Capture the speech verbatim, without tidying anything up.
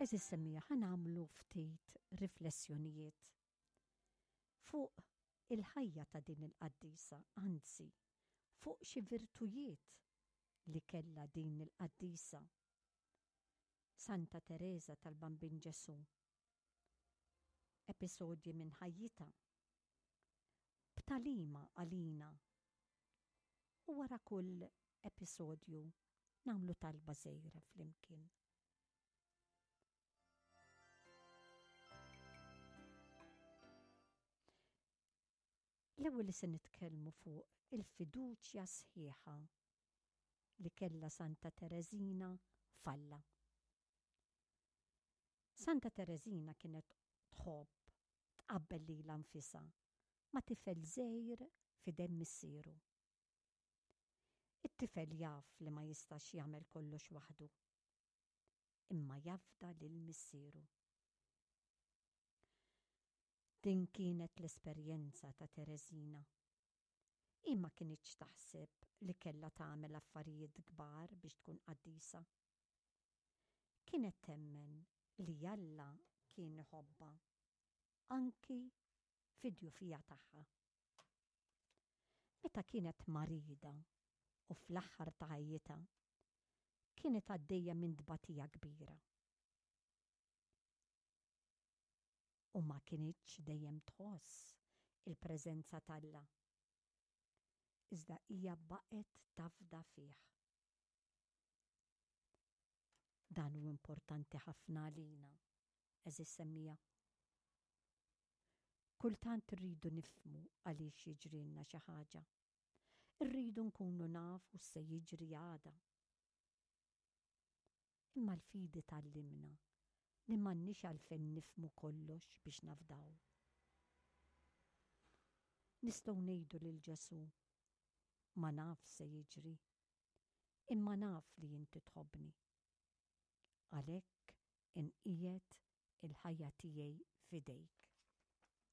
Għeżież semmiegħa, ħa nagħmlu ftit riflessjonijiet fuq il-ħajja ta' din il-qaddisa, anzi, fuq xi virtujiet li kellha din il-qaddisa. Santa Tereża tal-Bambin Ġesù. Episodji minn ħajjitha. B'tagħlima għalina. U wara kull episodju nagħmlu talba żgħira flimkien. L-ewwel li se nitkellmu fuq il-fiduċja sħiħa li kellha Santa Tereżina f'Alla. Santa Tereżina kienet tħobb tqabbel lilha nfisha ma' tifel żgħir f'idejn missieru. It-tifel jaf li ma jistax jagħmel kollox waħdu, imma jafda lil missieru. Din kienet l-esperjenza ta' Tereżina. Hi ma kinitx taħseb li kellha tagħmel affarijiet kbar biex tkun qaddisa. Kienet temmen li Alla kien iħobbha anki fid-djufija tagħha. Meta kienet marida u fl-aħħar ta' ħajjitha, kienet għaddejja minn tbatija kbira. U ma kinitx dejjem tħoss il-preżenza t'Alla. Iżda hija baqgħet tafda fih. Dan hu importanti ħafna għalina, għeżież semmiegħa. Kultant irridu nifhmu għaliex jiġrilna xi ħaġa. Irridu nkunu nafu x'se jiġri għada. Imma l-fidi tgħallimna li m'għandniex għalfejn nifhmu kollox biex nafdaw. Nistgħu ngħidu lil Ġesù, Ma naf x'se jiġri, imma naf li inti tħobbni. Għalhekk inqiegħed il-ħajja tiegħi f'idejk.